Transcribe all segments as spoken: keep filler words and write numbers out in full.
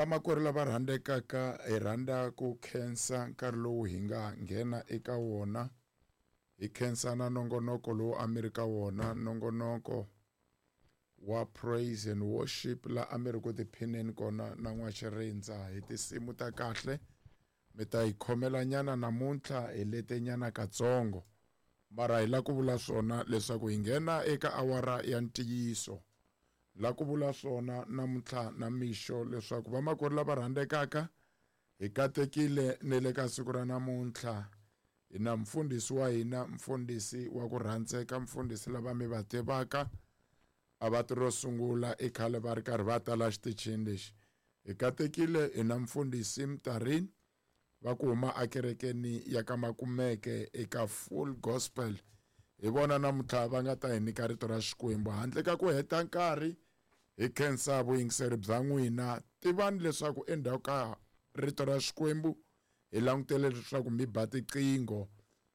Vamakwerhu lava rhandzekaka, hi rhandza ku khensa nkarhi lowu hi nga nghena eka wona. Hi khensa na nongonoko lowu a mi ri ka wona, nongonoko wa praise and worship la a mi ri ku tiphineni kona na N'waxirindza hi tinsimu ta kahle. Mi ta hi khomelanyana namuntlha hi letenyana katsongo, mara hi la ku vula swona leswaku hi nghena eka awara ya ntiyiso. La ku vula swona namuntlha na mixo leswaku vamakwerhu lava rhandzekaka, hi katekile ne le ka siku ra namuntlha. Hi na mfundhisi wa hina, mfundhisi wa ku rhandzeka, mfundhisi lava mi va tivaka, a va ti ro sungula i khale va ri karhi va tala xitichini lexi. Hi katekile hi na mfundhisi Mtarini va ku huma ekerekeni ya ka Makumeke eka Full Gospel. Hi vona namuntlha va nga ta hi nyika rito ra Xikwembu. Handle ka ku heta nkarhi, hi khensa vuyingiseri bya n'wina. Tivani leswaku endzhaku ka rito ra Xikwembu hi langutele leswaku mi ba tiqingho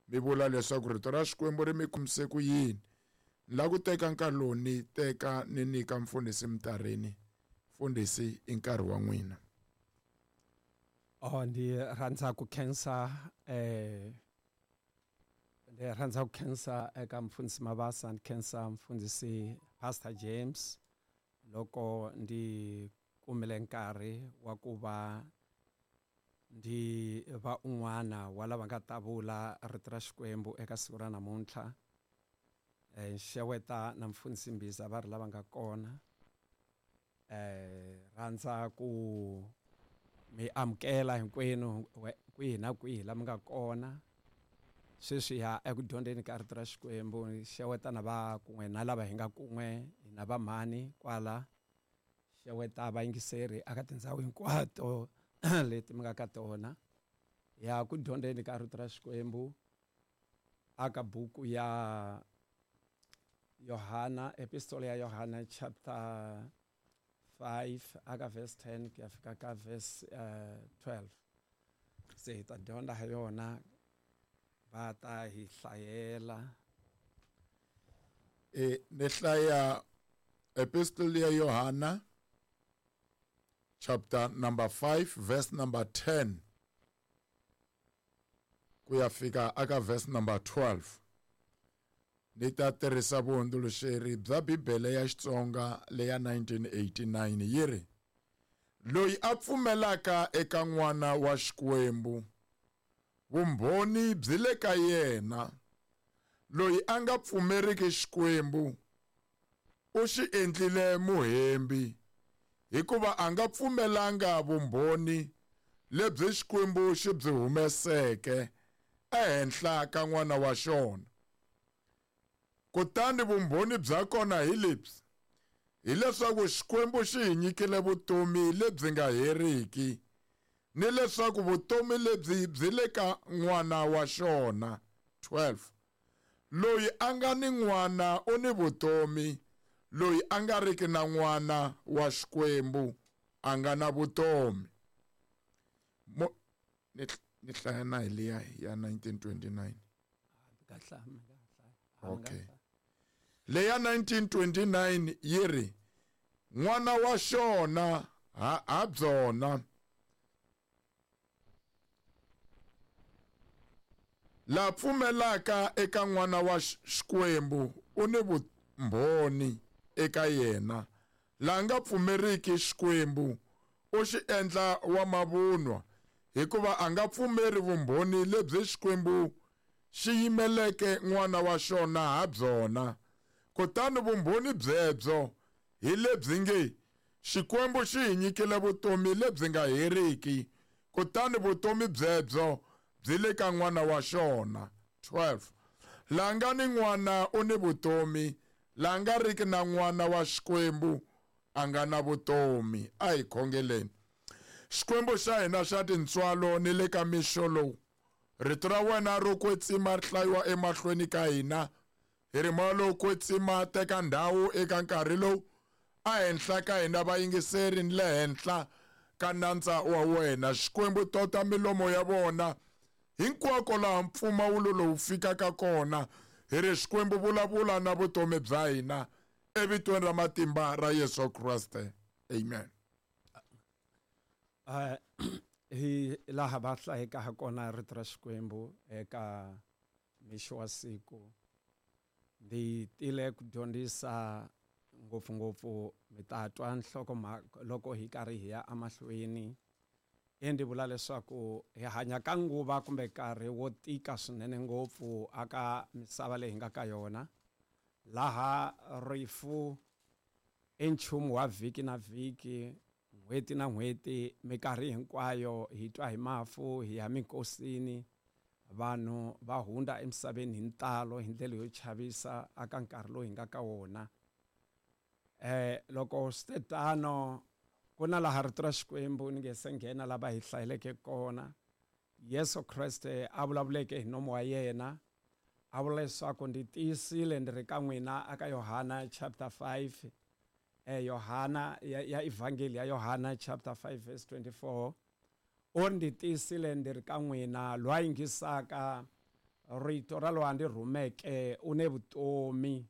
mi vula leswaku rito ra Xikwembu ri mi khomise ku yini. Ni lava ku teka nkarhi lowu ni teka ni nyika mfundhisi Mtarini. Mfundhisi, i nkarhi wa n'wina. Oh, ndzi rhandza ku khensa, eh, ndzi rhandza ku khensa eka mfundhisi Mabasa, ndzi khensa mfundhisi Pastor James loko ndzi kumile nkarhi wa ku va ndzi va un'wana wa lava nga ta vula rito ra Xikwembu eka siku ra namuntlha. Eh, xeweta na mfundhisi Mbhiza va ri lava nga kona. Eh, rhandza ku mi amukela hinkwenu kwihi na kwihi la mi nga kona. Sweswi ya eku dyondzeni ka rito ra Xikwembu, xeweta na va kun'we na lava hi nga kun'we, hina va mhani kwala. Xeweta vayingiseri eka tindhawu hinkwato leti mi nga ka tona. Ya ku dyondzeni ka rito ra Xikwembu aka buku ya Yohana, epistole ya Yohana chapter five aka verse ten ku ya fika ka verse, uh, twelve. Se hi ta dyondza ha yona, va ta hi hlayela. E, ni hlaya epistole ya Yohana chapter number five verse number ten ku ya fika aka verse number twelve. Ni ta tirhisa vuhundzuluxeri bya Bibele ya Xitsonga leya nineteen eighty-nine. Yi ri, loyi a pfumelaka eka N'wana wa Xikwembu, vumbhoni byi le ka yena. Loyi a nga pfumeriki Xikwembu, u xi endlile muhembi, hikuva a nga pfumelanga vumbhoni lebyi Xikwembu xi byi humeseke ehenhla ka N'wana wa xona. Kutani vumbhoni bya kona hi lebyi, hileswaku Xikwembu xi hi nyikile vutomi lebyi nga heriki, ni leswaku vutomi lebyi byi le ka N'wana wa xona. twelve. Loyi a nga ni N'wana u ni vutomi, loyi a nga riki na N'wana wa Xikwembu a nga na vutomi. Mo, ni, ni hlaya na hi liya ya nineteen twenty-nine. Okay. Leya nineteen twenty-nine yi ri, N'wana wa xona ha, ha byona, la pfumelaka eka N'wana wa Xikwembu u ni vumbhoni eka yena. La nga pfumeriki Xikwembu u xi endla wa mavunwa, hikuva a nga pfumeri vumbhoni lebyi Xikwembu xi yimeleke N'wana wa xona ha byona. Kutani vumbhoni byebyo hi lebyi nge, Xikwembu xi hi nyikile vutomi lebyi nga heriki, kutani vutomi byebyo byi le ka N'wana wa xona. twelve. La nga ni N'wana u ni vutomi, la nga riki na N'wana wa Xikwembu a nga na vutomi. A hi khongeleni. Xikwembu xa hina xa tintswalo ni le ka mixo lowu, rito ra wena ro kwetsima ri hlayiwa emahlweni ka hina. Hi ri moya lowo kwetsima, teka ndhawu eka nkarhi lowu a henhla ka hina vayingiseri ni le henhla ka nandza wa wena. Xikwembu, tota milomo ya vona hinkwako laha mpfumawulo lowu fikaka kona. Hi ri Xikwembu, vulavula na vutomi bya hina evitweni ra matimba ra Yesu Kreste. Amen. Uh, hi laha va hlayeka ha kona rito ra Xikwembu eka mixo wa siku. Ndzi tile ku dyondzisa ngopfungopfu mi ta twa nhlokomhaka loko hi karhi hi ya emahlweni. Ndzi vula leswaku hi hanya ka nguva kumbe nkarhi wo tika swinene ngopfu aka misava leyi hi nga ka yona, laha rifu i nchumu wa vhiki na vhiki, n'hweti na n'hweti, minkarhi hinkwayo hi twa hi mafu, hi ya minkosini, vanhu va hundza emisaveni hi ntalo hi ndlela yo chavisa aka nkarhi lowu hi nga ka wona. Eh loko swi te tano, ku na laha rito ra Xikwembu ni nge se nghena lava hi hlayeleke kona, Yesu Kreste a vulavuleke hi nomu wa yena, a vula leswaku ndzi tiyisile ndzi ri ka n'wina aka Yohana chapter five, eh Yohana ya, ya Evangeli ya Yohana chapter five verse twenty-four, u ri ndzi tiyisile ndzi ri ka n'wina, loyi a yingisaka rito ra loyi a ndzi rhumeke u ne vutomi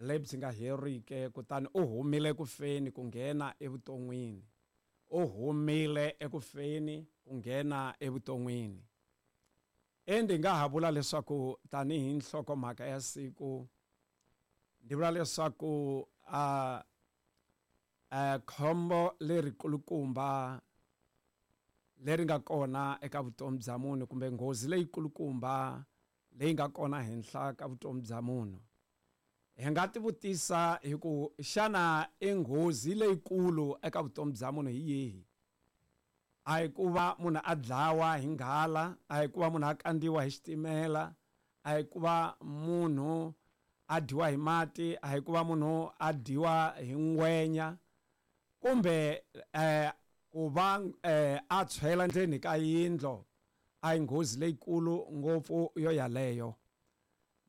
lebyi nga heriki, kutani u humile ku feni ku nghena evuton'wini. U humile eku feni ku nghena evuton'wini. Ndzi nga ha vula leswaku tanihi nhlokomhaka ya siku, ndzi vula leswaku a a khombo lerikulukumba leri nga kona eka vutomi bya munhu, kumbe nghozi leyikulukumba leyi nga kona henhla ka vutomi bya munhu. Hi nga tivutisa hi ku xana i nghozi leyikulu eka vutomi bya munhu hi yihi? A hi ku va munhu a dlawa hi nghala, a hi ku va munhu a kandziwa hi xitimela, a hi ku va munhu a dyiwa hi mati, a hi ku va munhu a dyiwa hi ngwenya, kumbe eh ku va eh a tshwela ndzeni ka yindlo, a hi nghozi leyikulu ngopfu yo yaleyo.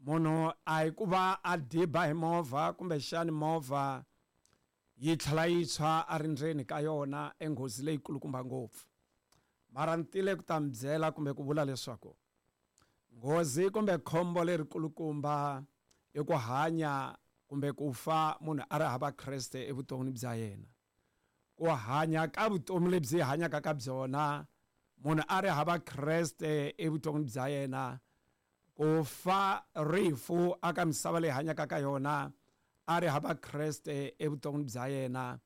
Munhu a hi ku va a diba hi movha, kumbexani movha yi tlhela yi tshwa a ri ndzeni ka yona, i nghozi leyikulukumba ngopfu. Mara ni tile ku ta mi byela kumbe ku vula leswaku nghozi kumbe khombo lerikulukumba i ku hanya kumbe ku fa munhu a ri hava Kreste evuton'wini bya yena. Ku hanya ka vutomi lebyi hanyaka ka byona munhu a ri hava Kreste evuton'wini bya yena, ku fa rifu aka misava leyi hanyaka ka yona a ri hava Kreste evuton'wini bya yena,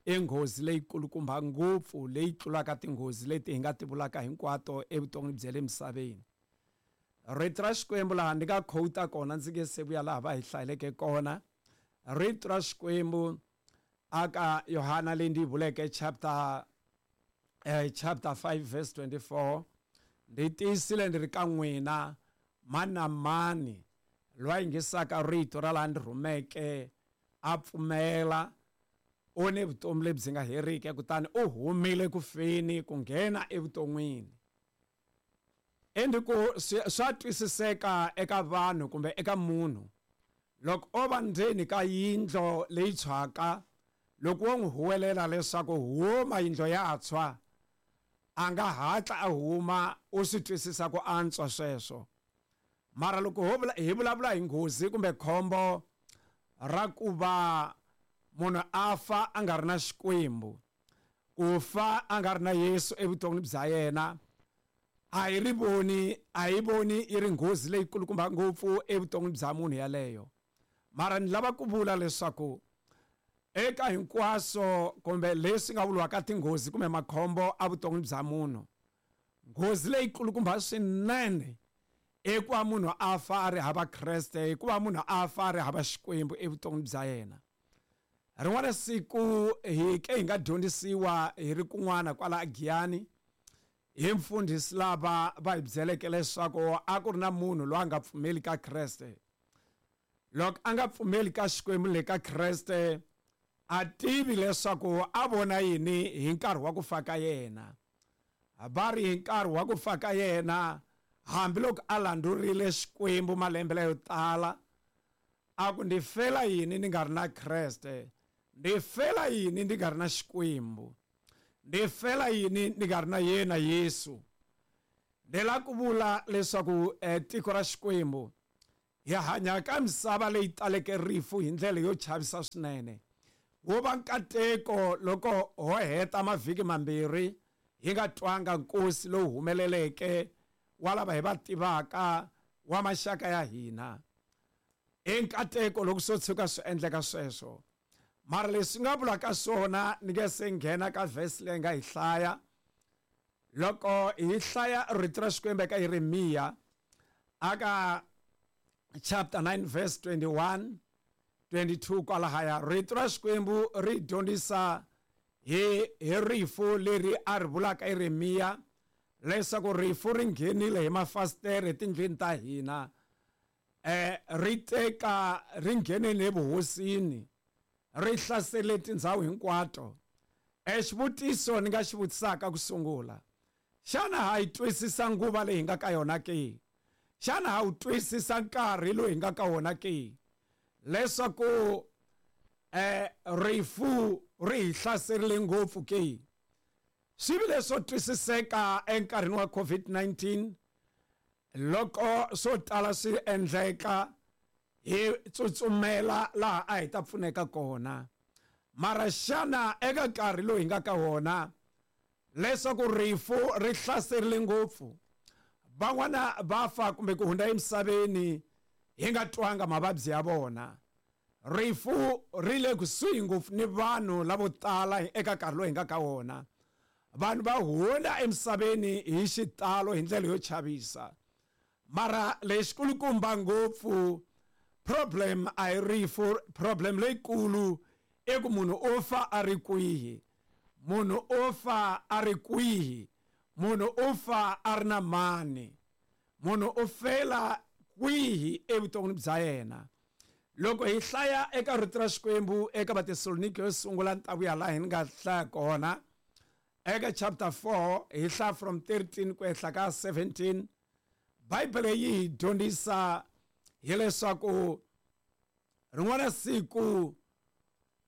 i nghozi leyikulukumba ngopfu leyi tlulaka tinghozi leti hi nga ti vulaka hinkwato evuton'wini bya le misaveni. Rito ra Xikwembu laha ndzi nga quote kona, ndzi nge se vuya laha va hi hlayeleke kona. Rito ra Xikwembu aka Yohana leyi ndzi yi vuleke chapter eh, chapter five verse twenty-four, ndzi tiyisile ndzi ri ka n'wina, mani na mani loyi a yingisaka rito ra laha ndzi rhumeke a pfumela, u ni vutomi lebyi nga heriki, kutani u humile ku feni ku nghena evuton'wini. Endli ku swa twisiseka eka vanhu kumbe eka munhu, loko o va ndzeni ka yindlo leyi tshwaka, loko wo n'wi huwelela leswaku huma yindlo ya tshwa, a nga hatla a huma, u swi twisisa ku antswa sweswo. Mara loko hi vulavula hi nghozi kumbe khombo ra ku va munhu a fa a nga ri na Xikwembu, ku fa a nga ri na Yesu evuton'wini bya yena, a hi ri voni, a hi voni yi ri nghozi leyikulukumba ngopfu evuton'wini bya munhu yaleyo. Mara ni lava ku vula leswaku eka hinkwaswo kumbe leswi nga vuriwaka tinghozi kumbe makhombo evuton'wini bya munhu, nghozi leyikulukumba swinene i ku va munhu a fa a ri hava Kreste, i ku va munhu a fa a ri hava Xikwembu evuton'wini bya yena. Rin'wana siku hi ke hi nga dyondzisiwa hi ri kun'wana kwala Giyani hi mfundhisi lava va hi byeleke leswaku a ku ri na munhu loyi a nga pfumeli ka Kreste. Loko a nga pfumeli ka Xikwembu le ka Kreste, a tivi leswaku a vona yini hi nkarhi wa ku fa ka yena. Va ri hi nkarhi wa ku fa ka yena, hambiloko a landzurile Xikwembu malembe layo tala, a ku ndzi fela yini ni nga ri na Kreste, ndzi fela yini ndzi nga ri na Xikwembu, ndzi fela yini ndzi nga ri na yena Yesu. Ndzi lava ku vula leswaku tiko ra Xikwembu hi hanya ka misava leyi taleke rifu hi ndlela yo chavisa swinene. Wo va nkateko loko ho heta mavhiki mambirhi hi nga twanga nkosi lowu humeleleke wa lava hi va tivaka wa maxaka ya hina. I nkateko loko swo tshuka swi endleka sweswo. Mara leswi nga vulaka swona ni nge se nghena ka verse leyi nga hi hlaya. Loko hi hlaya rito ra Xikwembu eka Yeremiya aka chapter nine verse twenty-one twenty-two kwalahaya, rito ra Xikwembu ri dyondzisa hi hi rifu leri a ri vulaka Yeremiya leswaku rifu ri nghenile hi mafasitere etindlwini ta hina, eh ri teka ri nghenile evuhosini, ri hlasele tindhawu hinkwato. E xivutiso ni nga xi vutisaka ku sungula, xana ha yi twisisa nguva leyi hi nga ka yona ke? Xana ha wu twisisa nkarhi lowu hi nga ka wona ke? Leswaku eh rifu ri hi hlaserile ngopfu ke? Swi vile swo twisiseka enkarhini wa COVID nineteen loko swo tala swi endleka hi tsutsumela laha a hi ta pfuneka kona. Mara xana eka nkarhi lowu hi nga ka wona leswaku rifu ri hlaserile ngopfu, van'wana va fa kumbe ku hundza emisaveni hi nga twanga mavabyi ya vona. Rifu ri le kusuhi ngopfu ni vanhu lavo tala eka nkarhi lowu hi nga ka wona. Vanhu va hundza emisaveni hi xitalo hi ndlela yo chavisa. Mara lexikulukumba ngopfu problem a hi rifu, problem leyikulu i ku munhu u fa a ri kwihi, munhu u fa a ri kwihi, munhu u fa a ri na mani, munhu u fela kwihi evuton'wini bya yena. Loko hi hlaya eka rito ra Xikwembu eka Vatesalonike yo sungula ni ta vuya laha hi nga hlaya kona eka chapter four, hi hlaya from thirteen ku ehla ka seventeen, Bibele yi hi dyondzisa hileswaku rin'wana siku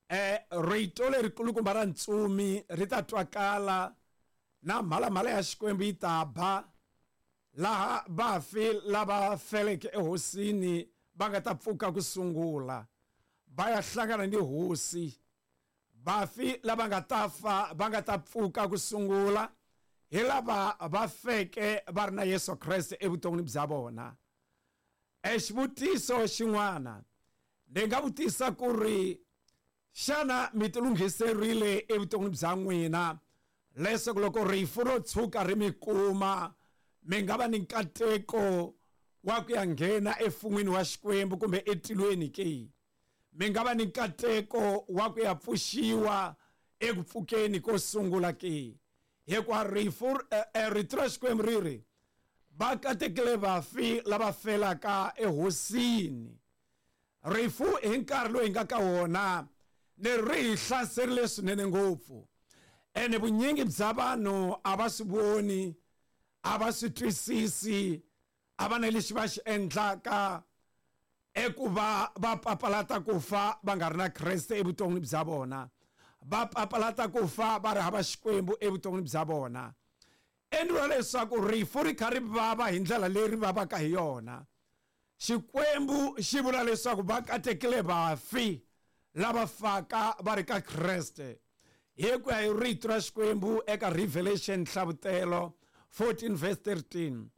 eh rito lerikulukumba ra ntsumi ri ta twakala na mhalamhala ya Xikwembu yi ta ba, laha vafi lava feleke ehosini va nga ta pfuka ku sungula va ya hlangana ni hosi. Vafi lava nga ta fa va nga ta pfuka ku sungula hi lava va feke va ri na Yesu Kreste evuton'wini bya vona. E xivutiso xin'wana ni nga vutisa ku ri xana mi tilunghiserile evuton'wini bya n'wina leswaku loko rifu ro tshuka ri mi kuma mi nga va ni nkateko wa ku ya nghena efun'wini wa Xikwembu kumbe etilweni ke? Mi nga va ni nkateko wa ku ya pfuxiwa eku pfukeni ko sungula ke? Hikuva rifu rito ra Xikwembu ri ri va katekile vafi lava felaka ehosini. Rifu hi nkarhi lowu hi nga ka wona ni ri hi hlaserile swinene ngopfu, ene vunyingi bya vanhu a va swi voni, a va swi twisisi, a va na lexi va xi endlaka eku va va papalata ku fa va nga ri na Kreste evuton'wini bya vona, va papalata ku fa va ri hava Xikwembu evuton'wini bya vona. Endliwa leswaku rifu ri kha ri vava hi ndlela leyi ri vavaka hi yona. Xikwembu xi vula leswaku va katekile vafi lava faka va ri ka Kreste. Hi ku ya hi rito ra Xikwembu eka Revelation Nhlavutelo fourteen verse thirteen,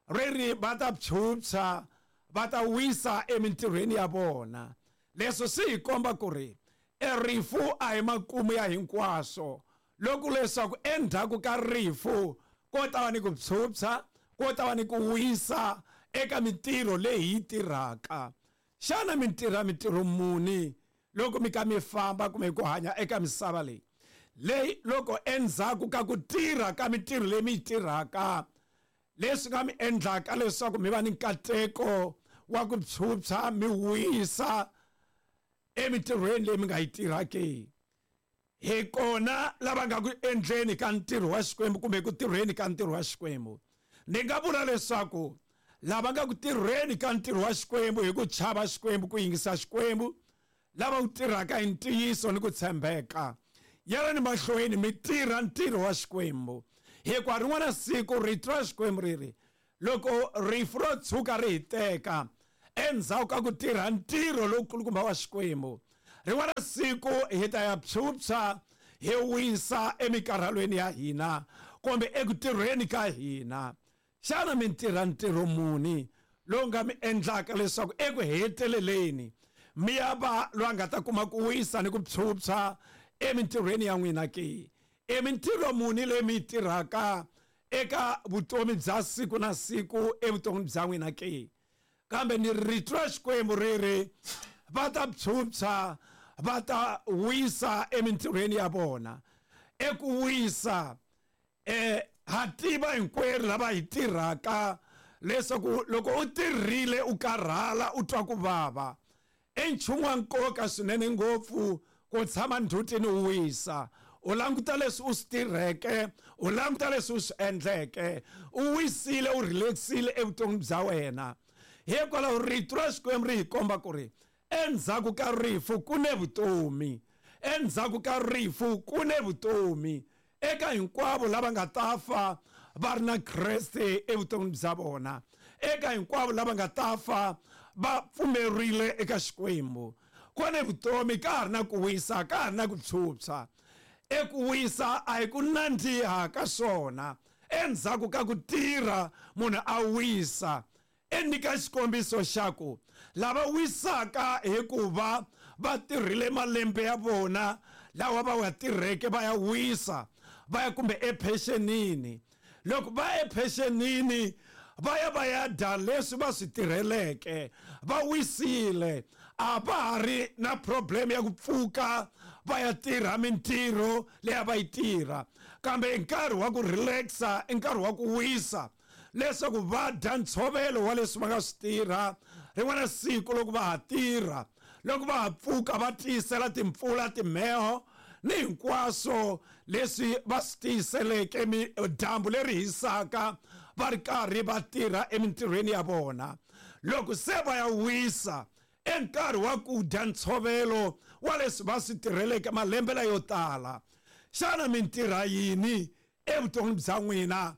ri ri va ta phyuphya va ta wisa emintirhweni ya vona. Leswi swi hi komba ku ri e rifu a hi makumu ya hinkwaswo, loko leswaku endzhaku ka rifu ko ta va ni ku phyuphya, ko ta va ni ku wisa eka mintirho leyi hi yi tirhaka. Xana mi tirha mintirho muni loko mi ka mi famba kumbe ku hanya eka misava leyi? Leyi loko endzhaku ka ku tirha ka mintirho leyi mi yi tirhaka, leswi nga mi endlaka leswaku mi va ni nkateko wa ku phyuphya mi wisa emintirhweni leyi mi nga yi tirhaki. Hi kona lava nga ku endleni ka ntirho wa Xikwembu kumbe ku tirheni ka ntirho wa Xikwembu. Ni nga vula leswaku lava nga ku tirheni ka ntirho wa Xikwembu hi ku chava Xikwembu, ku yingisa Xikwembu, lava wu tirhaka hi ntiyiso ni ku tshembeka, yelani mahlweni mi tirha ntirho wa Xikwembu. Hikuva rin'wana siku rito ra Xikwembu ri ri loko rifu ro tshuka ri hi teka endzhaku ka ku tirha ntirho lowukulukumba wa Xikwembu, rin'wana siku hi ta ya phyuphya hi wisa emikarhalweni ya hina, kumbe eku tirheni ka hina. Xana mi tirha ntirho muni lowu nga mi endlaka leswaku eku heteleleni mi ya va loyi a nga ta kuma ku wisa ni ku phyuphya emintirhweni ya n'wina ke? I mintirho muni leyi mi yi tirhaka eka vutomi bya siku na siku evuton'wini bya n'wina ke? Kambe ni rito ra Xikwembu ri ri va ta phyuphya, va ta wisa emintirhweni ya vona. Eku wisa eh ha tiva hinkwerhu lava hi tirhaka leswaku loko u tirhile u karhala u twa ku vava, i nchumu wa nkoka swinene ngopfu ku tshama ndzhutini u wisa, u languta leswi u swi tirheke, u languta leswi u swi endleke, u wisile, u relaxile evuton'wini bya wena. Hikwalaho rito ra Xikwembu ri hi komba ku ri endzhaku ka rifu ku ne vutomi, endzhaku ka rifu ku ne vutomi eka hinkwavo lava nga ta fa va ri na Kreste evuton'wini bya vona, eka hinkwavo lava nga ta fa va pfumerile eka Xikwembu. Ku ne vutomi, ka ha ri na ku wisa, ka ha ri na ku phyuphya. Eku wisa a hi ku nandziha ka swona. Endzhaku ka ku tirha munhu a wisa. E nyika xikombiso xa ku lava wisaka hikuva va tirhile malembe ya vona lawa va wa tirheke va ya wisa, va ya kumbe ephenxenini. Loko va ephenxenini va ya va ya dya leswi va swi tirheleke, va wisile, a va ha ri na problem ya ku pfuka va ya tirha mintirho leyi a va yi tirha. Kambe i nkarhi wa ku relaxa, i nkarhi wa ku wisa leswaku va dya ntshovelo wa leswi va nga swi tirha. Rin'wana siku loko va ha tirha, loko va ha pfuka va tiyisela timpfula, timheho ni hinkwaswo leswi va swi tiyiseleke, dyambu leri hisaka, va ri karhi va tirha emintirhweni ya vona. Loko se va ya wisa, i nkarhi wa ku dya ntshovelo wa leswi va swi tirheleke malembe layo tala. Xana mi tirha yini evuton'wini bya n'wina?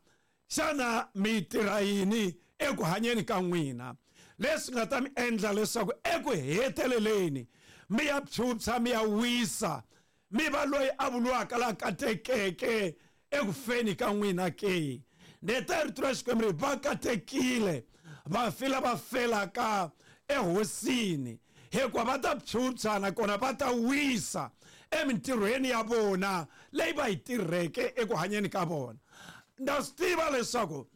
Xana mi tirha yini eku hanyeni ka n'wina leswi nga ta mi endla leswaku eku heteleleni mi ya phyuphya, mi ya wisa, mi va loyi a vuriwaka la katekeke eku feni ka n'wina ke? Neta rito ra Xikwembu ri va katekile vafi lava felaka ehosini, hikuva va ta phyuphya nakona va ta wisa emintirhweni ya vona leyi va yi tirheke eku hanyeni ka vona. Ndza swi tiva leswaku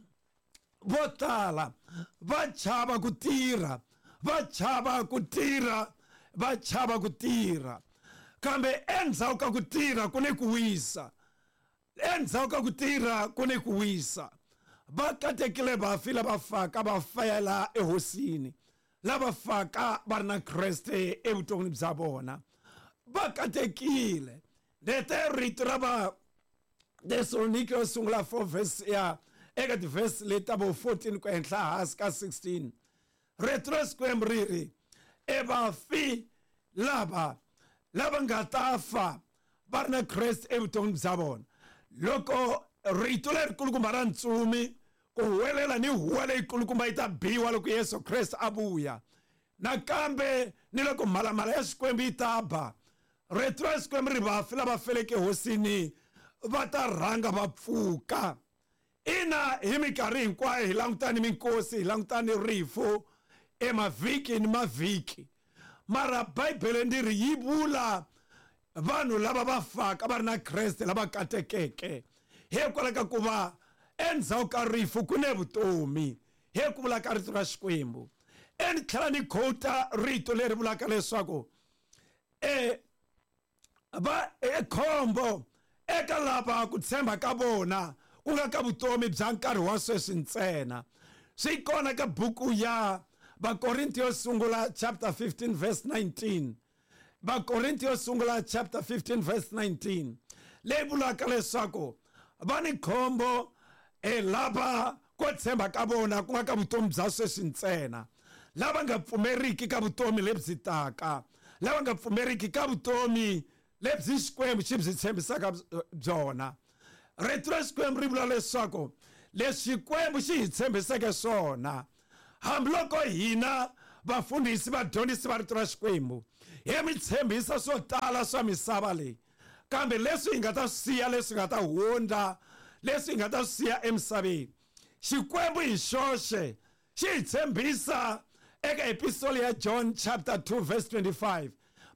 vo tala va chava ku tirha, va chava ku tirha, va chava ku tirha. Kambe endzhaku ka ku tirha ku ne ku wisa, endzhaku ka ku tirha ku ne ku wisa. Va katekile vafi lava faka va fela ehosini, lava faka va ri na Kreste evuton'wini bya vona. Va katekile. Lete rito ra va Thessalonike yo sungula four verse ya eka ti-verse leti ta vo fourteen ku henhla hansi ka sixteen. Rito ra Xikwembu ri ri e vafi lava lava nga ta fa va ri na Kreste evuton'wini bya vona. Loko rito lerikulukumba ra ntsumi ku huwelela ni huwa leyikulukumba yi ta biwa loko Yesu Kreste a vuya, nakambe ni loko mhalamhala ya Xikwembu yi ta ba, rito ra Xikwembu ri vafi lava feleke hosini va ta rhanga va pfuka. Ina, hi minkarhi hinkwayo hi langutani minkosi, hi langutani rifu emavhiki ni mavhiki, mara Bibele ndzi ri yi vula vanhu lava va faka va ri na Kreste lava katekeke, hikwalaho ka ku va endzhaku ka rifu ku ne vutomi, hi ku vula ka rito ra Xikwembu. E ni tlhela ni quota rito leri vulaka leswaku e va e khombo eka lava ku tshemba ka vona ku nga ka vutomi bya nkarhi wa sweswi ntsena. Swi kona ka buku ya Vakorinto yo sungula chapter fifteen verse nineteen. Vakorinto yo sungula chapter fifteen verse nineteen leyi vulaka leswaku va ni khombo e lava ku tshemba ka vona ku nga ka vutomi bya sweswi ntsena, lava nga pfumeriki ka vutomi lebyi taka, lava nga pfumeriki ka vutomi lebyi Xikwembu xi byi tshembisaka byona. Rito ra Xikwembu ri vula leswaku leswi Xikwembu xi hi tshembiseke swona, hambiloko hina vafundhisi vadyondzisi va rito ra Xikwembu hi mi tshembisa swo tala swa misava leyi, kambe leswi hi nga ta swi siya, leswi nga ta hundza, leswi hi nga ta swi siya emisaveni. Xikwembu hi xoxe xi hi tshembisa eka epistle ya John chapter two verse twenty-five.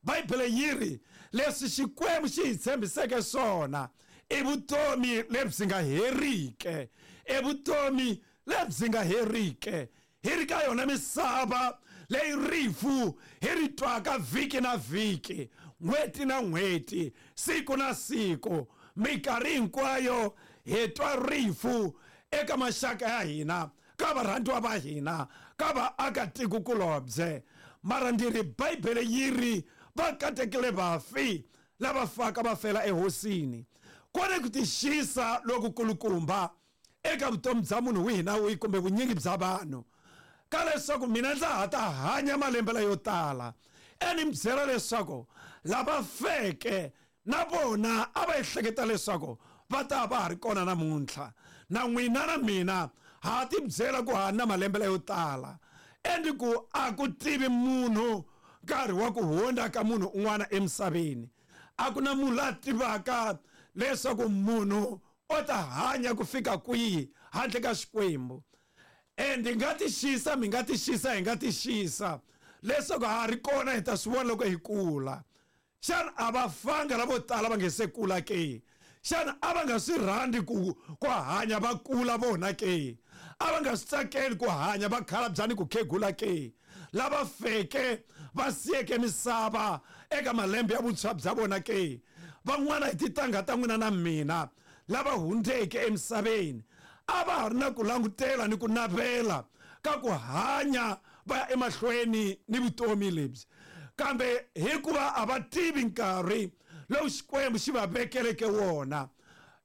Bibele yi ri leswi Xikwembu xi hi tshembiseke swona i vutomi lebyi nga heriki, i vutomi lebyi nga heriki. Hi ri ka yona misava leyi rifu hi ri twaka vhiki na vhiki, n'hweti na n'hweti, siku na siku, minkarhi hinkwayo hi twa rifu eka maxaka ya hina, ka varhandziwa va hina, ka vaakatikokulobye. Mara ndzi ri Bibele yi ri va katekile vafi lava faka va fela ehosini. Kone ku tixisa loku kulukumba eka vutomi bya munhu wihi na wihi kumbe vunyingi bya vanhu ka leswaku mina ndza ha ta hanya malembe layo tala. Eni mi byela leswaku lava feke na vona a va ehleketa leswaku va ta va ha ri kona namuntlha. Na n'wina na mina ha ti byela ku ha na malembe layo tala. Endi ku a ku tivi munhu nkarhi wa ku hundza ka munhu un'wana emisaveni. A ku na munhu la tivaka leswaku munhu o ta hanya ku fika kwihi handle ka Xikwembu. Endi nga tixisa, mi nga tixisa, hi nga tixisa leswaku ha ri kona hi ta swi vona loko hi kula. Xana a va fanga lavo tala va nge se kula ke? Xana a va nga swi rhandzi ku ku hanya va kula vona ke? A va nga swi tsakeli ku hanya va khalabya ni ku khegula ke? Lava feke va siyeke misava eka malembe ya vuntshwa bya vona ke? Van'wana hi titangha ta n'wina na mina lava hundzeke emisaveni a va ha ri na ku langutela ni ku navela ka ku hanya va ya emahlweni ni vutomi lebyi, kambe hikuva a va tivi nkarhi lowu Xikwembu xi va vekeleke wona,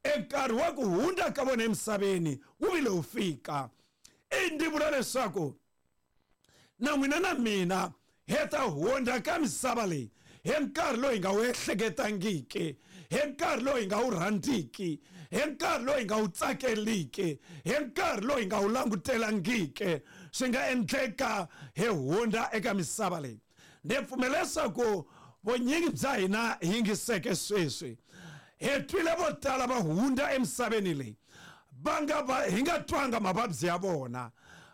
e nkarhi wa ku hundza ka vona emisaveni wu vile wu fika. I ndzi vula leswaku na n'wina na mina hi ta hundza ka misava leyi hi nkarhi lowu hi nga wu ehleketangiki, hi nkarhi lowu hi nga wu rhandziki, hi nkarhi lowu hi nga wu tsakeliki, hi nkarhi lowu hi nga wu langutelangiki. Swi nga endleka hi hundza eka misava leyi. Ndzi pfumela leswaku vunyingi bya hina hi yingiseke sweswi, hi twile vo tala va hundza emisaveni leyi va nga va hi nga twanga mavabyi ya vona,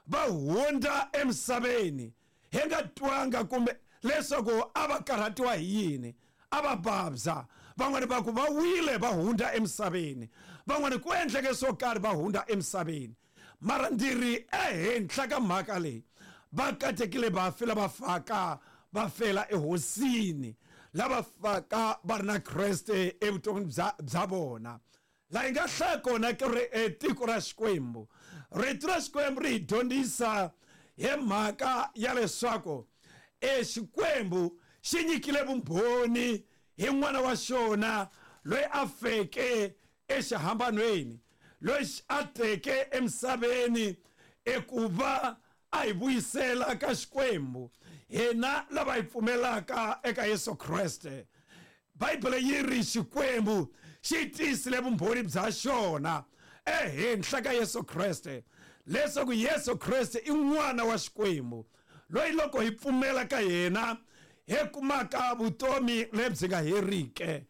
va hundza emisaveni hi nga twanga kumbe leswaku a va karhatiwa hi yini, a va vabya. Van'wani va ku va wile va hundza emisaveni, van'wani ku endleke swo karhi va hundza emisaveni. Mara ndzi ri ehenhla ka mhaka leyi, va katekile vafi lava faka va fela ehosini, lava faka va ri na Kreste evuton'wini bya bya vona. Laha hi nga hlaya kona ku ri tiko ra Xikwembu, rito ra Xikwembu ri hi dyondzisa hi mhaka ya leswaku e Xikwembu xi nyikile vumbhoni hi n'wana wa xona loyi a feke exihambanweni, loyi a teke emisaveni ekuva a hi vuyisela ka Xikwembu hina lava hi pfumelaka eka Yesu Kreste. Bibele yi ri Xikwembu xi tiyisile vumbhoni bya xona ehenhla ka Yesu Kreste, leswaku Yesu Kreste i n'wana wa Xikwembu loyi loko hi pfumela ka yena hi kumaka vutomi lebyi nga heriki.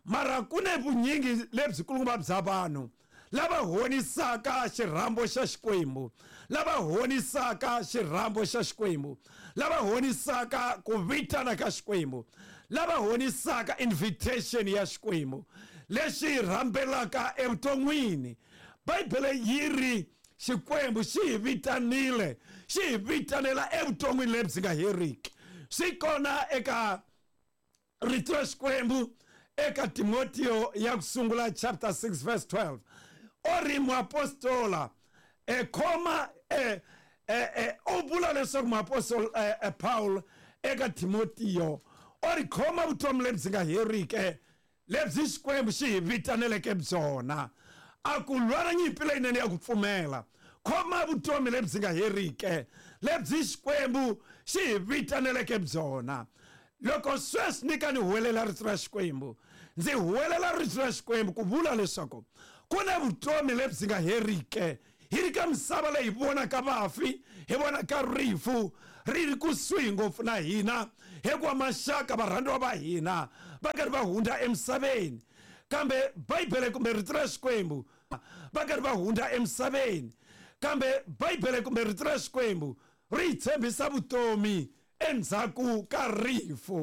Mara ku ne vunyingi lebyi kulukumba bya vanhu lava honisaka xirhambo xa Xikwembu, lava honisaka xirhambo xa Xikwembu, lava honisaka ku vitana ka Xikwembu, lava honisaka invitation ya Xikwembu lexi rhambelaka evuton'wini. Bibele yi ri Xikwembu xi hi vitanile, xi hi vitanela evuton'wini lebyi nga heriki. Swi kona eka rito ra Xikwembu eka Timotiyo ya ku sungula chapter six verse twelve. O ri muapostola e khoma e e o vula leswaku muapostola Paul eka Timotiyo o ri khoma vutomi lebyi nga heriki lebyi Xikwembu xi hi vitaneleke byona. A ku lwana nyimpi leyinene ya ku pfumela, khoma vutomi lebyi nga heriki lebyi Xikwembu xi hi vitaneleke byona. Loko sweswi ni ka ni huwelela rito ra Xikwembu, ndzi huwelela rito ra Xikwembu ku vula leswaku ku na vutomi lebyi nga heriki. Hi ri ka misava leyi hi vonaka vafi, hi vonaka rifu ri ri kusuhi ngopfu na hina, hikuva maxaka varhandziwa va hina va karhi va hundza emisaveni. Kambe Bibele kumbe rito ra Xikwembu Va karhi va hundza emisaveni, kambe Bibele kumbe rito ra Xikwembu ri hi tshembisa vutomi endzhaku ka rifu.